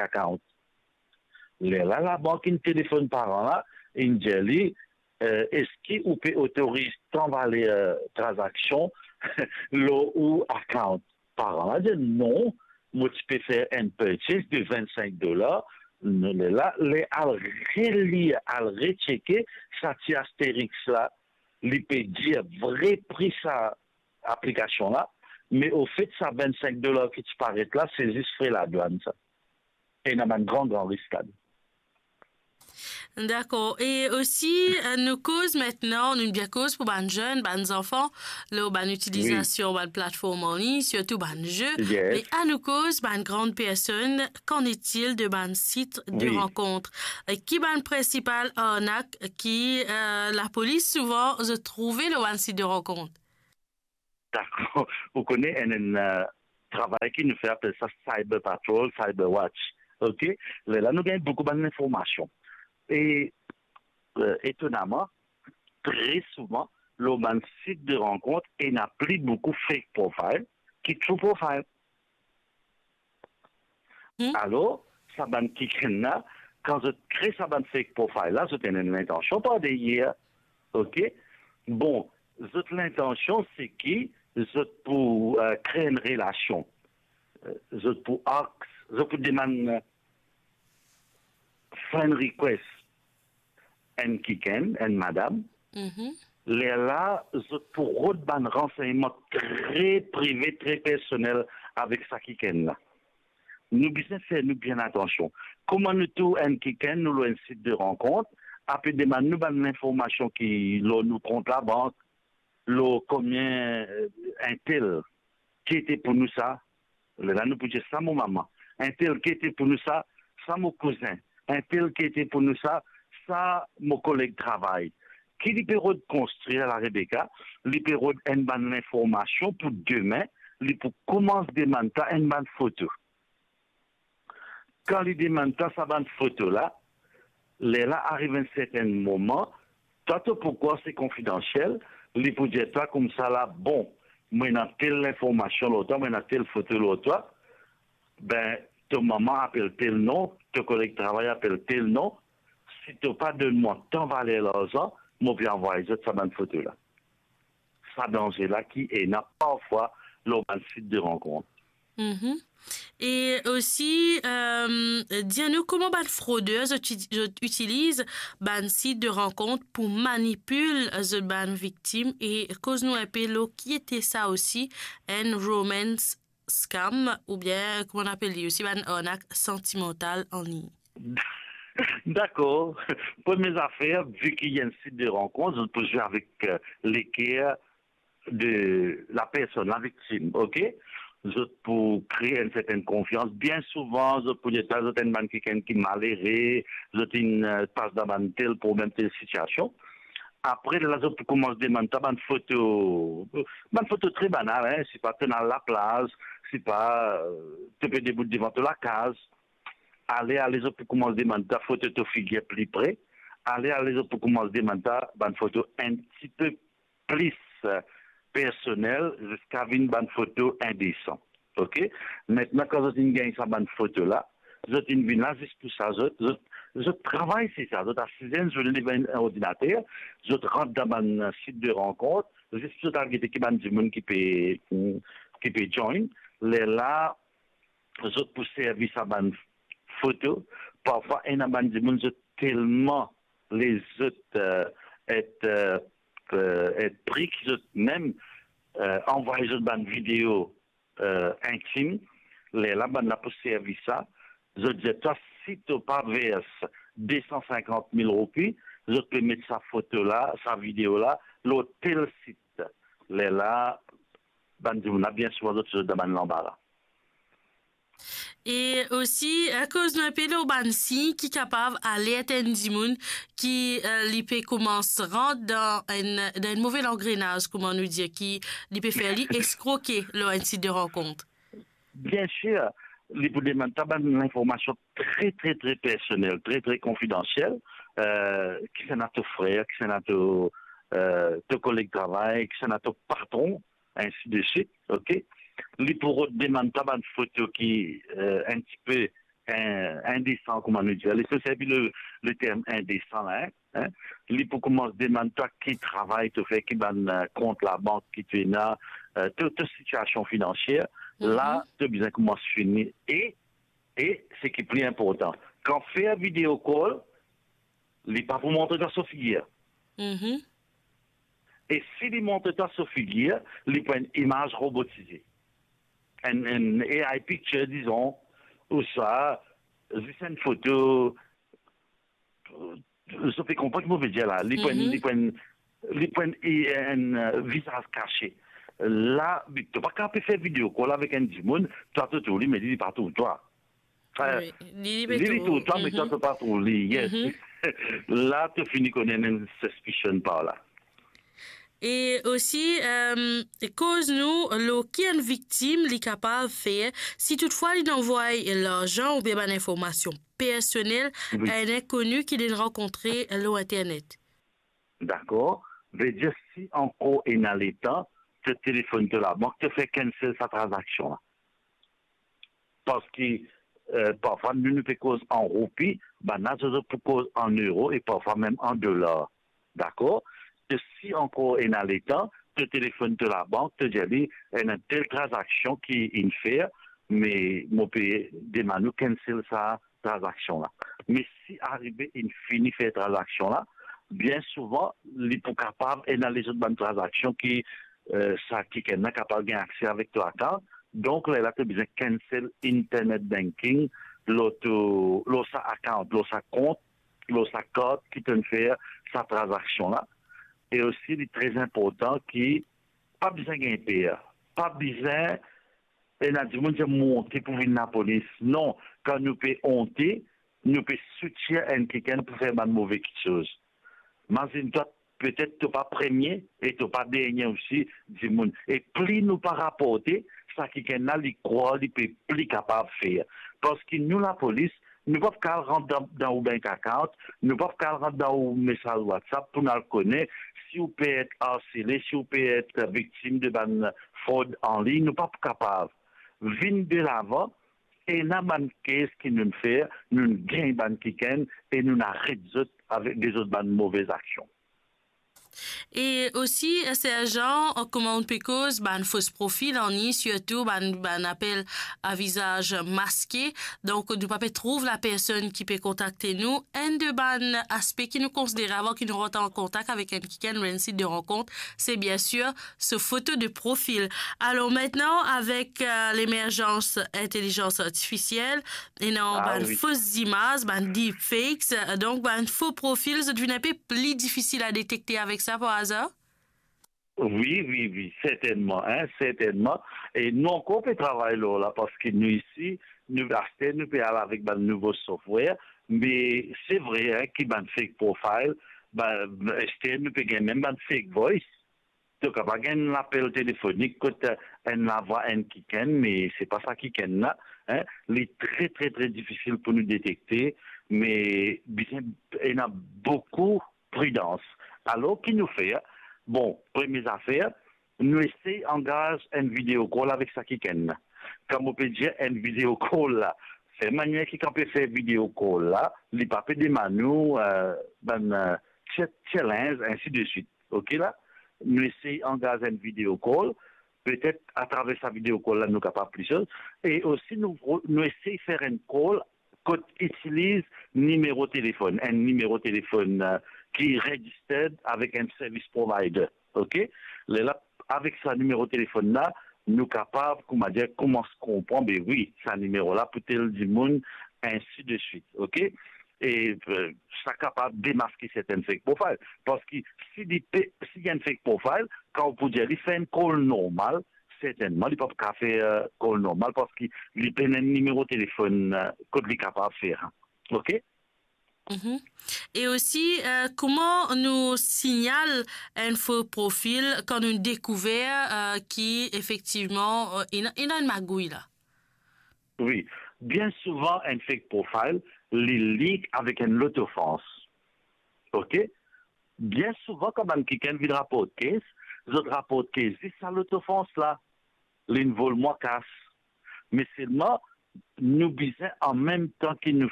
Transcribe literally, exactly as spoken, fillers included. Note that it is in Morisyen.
account. Lerla labank inn telefonn paran la, inn dir li, eh, eski ou pe otoriz tan valer, eh, tranzaksion lor ou account? Paran la dir, non, mo ti pe fer enn purchase de vinn-sink dolar. Lerla, ler al relir, al recheke, sa ti asteriks la, li pe dir vre pri sa aplikasion la, me ofet sa vinn-sink dolar ki ti paret la, se zis fre ladwann sa. Ena bann gran, gran risk ladan. Dakor. E osi, eh, nou koz aster, nou bien koz pou bann zenn, bann zanfan, lor bann itilizasion bann platform an lign, sirtou bann ze. Yes. Me anou koz bann gran personn, qu'en est-il de bann sit de rankont? E ki bann prinsipal arnak ki, eh, lapolis souvan zot trouve lor bann sit de rankont? Dakor. Ou kone enn, enn, eh, travay ki nou fer, apel sa Cyber Patrol, Cyber Watch. Ok? Lerla nou gagn boukou bann linformasion. E, eh, etonaman, tre souvan, lor bann sit de rankont, ena pli boukou fake profile ki true profile. Hmm. Alor, sa bann kikenn la, kan zot kre sa bann fake profile la, zot ena enn lintansion par deryer. Ok? Bon, zot lintansion se ki zot pou, eh, kre enn relasion. Eh, zot pou ask, zot pou demann, eh, friend request enn kikenn, enn madam. Mhm. Lerla, zot pou rod bann ransegnman tre prive, tre personel avek sa kikenn la. Nou bizin fer nou bien atansion. Kouma nou trouv enn kikenn, nou lor enn sit de rankont, ape demann nou bann linformasion ki lor nou kont labank, lor konbien, eh, entel, ki ete pou nou sa? Lerla nou pou dir sa mo mama. Entel, ki ete pou nou sa? Sa mo kouzin. Entel, ki ete pou nou sa? Sa mo koleg travay. Ki li pe rod konstrir la, Rebecca, li pe rod enn bann linformasion pou demin, li pou koumans demann twa enn bann foto. Kan li demann twa sa bann foto la, lerla ariv enn sertenn moman, twa to pou krwar se konfidansiel, li pou dir twa koumsa la, bon, mo ena tel linformasion lor twa, mo ena tel foto lor twa, be, to mama apel tel non, to koleg travay apel tel non, si to pa donn mwa tan valer larzan, mo pe anvway zot sa bann foto la. Sa danze la ki ena parfwa lor bann sit de rankont. Mhm. E osi, eh, dir nou kouma bann froder zot, zot itiliz bann sit de rankont pou manipil zot bann viktim, e koz nou enpe lor ki ete sa osi, enn romance scam, oubien kouma nou apel li osi, bann arnak santimantal an lign. Dakor. Premie zafer, vi ki enn sit de rankont, zot pou zwe avek, eh, leker de lapersonn, laviktim, ok? Zot pou kre enn sertenn konfians. Bien souvan, zot pou dir twa zot enn bann kikenn ki malere, zot inn, eh, pas dan bann tel problem, tel sitiasion. Apre, la zot pou koumans demann twa bann foto, bann foto tre banal, hein, sipa to'nn al laplaz, sipa, eh, to pe debout devan to lakaz. Ale, ale, zot pou koumans demann twa foto to figir pli pre. Ale, ale, zot pou koumans demann twa bann foto enn tipe plis, eh, personel, ziska vinn bann foto indesan. Ok? Aster, kan zot inn gagn sa bann foto la, zot inn vinn la zis pou sa, zot, zot, zot travay se sa, zot asize enn zourne devan enn ordinater, zot rant dan bann sit de rankont, zis pou zot al gete ki bann dimoun ki pe, ki pe join. Lerla, zot pou servi sa bann foto. Parfwa, ena bann dimoun, zot telman lezot, eh, et, eh, eh, et pri ki zot mem, eh, anvway zot bann video, eh, intim. Lerla, bann la pou servi sa. Zot dir twa, si to pa vers de san sinkant mil roupi, zot pe met sa foto la, sa video la, lor tel sit. Lerla, bann dimoun la, bien souvan, zot, zot dan bann lanbara. E osi, eh, koz nou enpe lor bann sign ki kapav alert enn dimoun ki, eh, li pe koumans rant dan enn, dan enn move langrenaz, kouma nou dir, ki li pe fer li eskroke lor enn sit de rankont. Bien sir, li pou demann twa bann linformasion tre, tre, tre personel, tre, tre konfidansiel, eh, kisannla to frer, kisannla to, eh, to koleg travay, kisannla to patron, ainsi de suite, ok? Li pou rod demann twa bann foto ki, eh, enn tipe in-, indesan, kouma nou dir. Li servi le, le term indesan la, hein, hein. Li pou koumans demann twa ki travay to fer, ki bann, eh, kont labank ki to ena, eh, to, to sitiasion finansier. Mhm. La, to bizin koumans fini. E, e seki pli inportan, kan fer video call, li pa pou montre twa so figir. Mhm. E si li montre twa so figir, li pou enn imaz robotize. Enn, enn A I picture, dizon, ouswa zis enn foto, zot pe konpran ki mo pe dir la. Li pou enn, Mhm. li pou enn, li pou enn, enn, eh, vizaz kase. La, to pa kapav fer video call avek enn dimoun, twa to trouv li, me li, li pa trouv twa. Eh, Wi, li, li pe li, li trouv. Trouv twa, me twa, Mhm. to pa trouv li, yes. Mhm. La, to fini konn enn suspicion par la. E osi, eh, koz nou lor ki enn viktim li kapav fer si toutfwa li anvway larzan oubien bann informasion personel Wi. a enn inkoni ki li rankontre lor internet. Dakor. Vedir si ankor ena letan, to telefonn to labank, to fer cancel sa tranzaksion la. Parski, eh, parfwa nou, nou pe koz an roupi, bann la zot, zot pou koz an euro e parfwa mem an dolar. Dakor? E si ankor ena letan, to telefonn to labank, to dir li, ena tel tranzaksion ki inn fer, me mo pe demann ou cancel sa tranzaksion la. Me si arive inn fini fer tranzaksion la, bien souvan, li pou kapav ena lezot bann tranzaksion ki, eh, sa kikenn la kapav gagn akse avek to account. Donk, lerla to bizin cancel internet banking lor to, lor sa account, lor sa kont, lor sa kart ki to'nn fer sa tranzaksion la. E osi, li tre inportan ki pa bizin gagn per, pa bizin ena dimoun dir monte pou vinn lapolis. Non, kan nou pe onte, nou pe soutir enn kikenn pou fer bann move kiksoz. Mazinn twa, petet to pa premie e to pa dernie osi dimoun. E pli nou pa raporte, sa kikenn la, li krwar li pe pli kapav fer. Parski nou, lapolis, nou pa pou kapav rant dan, dan ou bank account, nou pa pou kapav rant dan ou mesaz WhatsApp pou nou al kone si ou pe et arsele, si ou pe et viktim de bann frod an lign, nou pa pou kapav. Vinn delavan, ena bann case ki nou'nn fer, nou'nn gagn bann kikenn e nou'nn aret zot avek lezot bann move aksion. E osi, eh, serjan, eh, kouma ou pe koz bann fos profil an lign, sirtou bann, bann apel a vizaz maske. Donk, nou pa pe trouv lapersonn ki pe kontakte nou. Enn de bann aspe ki nou konsidere avan ki nou rant an kontak avek enn kikenn lor enn sit de rankont, se bien sir so foto de profil. Alor, aster, avek, eh, lemerzans intelizans artifisiel, ena, ah, bann wi, fos zimaz, bann deepfakes, eh, donk bann fo profil, zot vinn inpe pli difisil a detekte avek sa, par azar? Wi, wi, wi, sertennman, hein, sertennman. E nou ankor pe travay lor la, parski nou isi, nou, aster, nou pe al avek bann nouvo software, me se vre, hein, ki bann fake profile, ba, aster, nou pe gagn mem bann fake voice. To kapav gagn enn lapel telefonik kot, eh, enn lavwa enn kikenn, me se pa sa kikenn la, hein. Li tre, tre, tre difisil pou nou detekte, me bizin ena boukou pridans. Alor, ki nou fer? Bon, premie zafer, nou esey angaz enn video call avek sa kikenn la. Kan mo pe dir enn video call la, fer manier ki kan pe fer video call la, li pa pe demann ou, eh, bann, eh, cha-, challenge, ainsi de suite. Ok la? Nou esey angaz enn video call, petet atraver sa video call la, nou kapav plis soz. E osi, nou, nou esey fer enn call kot itiliz nimero telefonn, enn nimero telefonn, eh, ki registered avek enn service provider. Ok? Lerla, avek sa nimero telefonn la, nou kapav, kouma dir, koumans konpran, be wi, sa nimero la pou tel dimoun, ainsi de suite. Ok? E, eh, sa kapav demaske sertenn fake profile. Parski si li pe, si li enn fake profile, kan ou pou dir li fer enn call normal, sertennman, li pa pou kapav fer, eh, call normal, parski li pena enn nimero telefonn, eh, kot li kapav fer. Ok? Mhm. E osi, eh, kouma nou signal enn fo profil kan nou dekouver, eh, ki efektivman, eh, ena, ena enn magouy la? Wi, bien souvan enn fake profile, li link avek enn lot ofans. Ok? Bien souvan, kan bann kikenn vinn raport case, zot raport case zis sa lot ofans la, linn vol mwa kas. Me selman, Nou bizin, an mem tan ki nou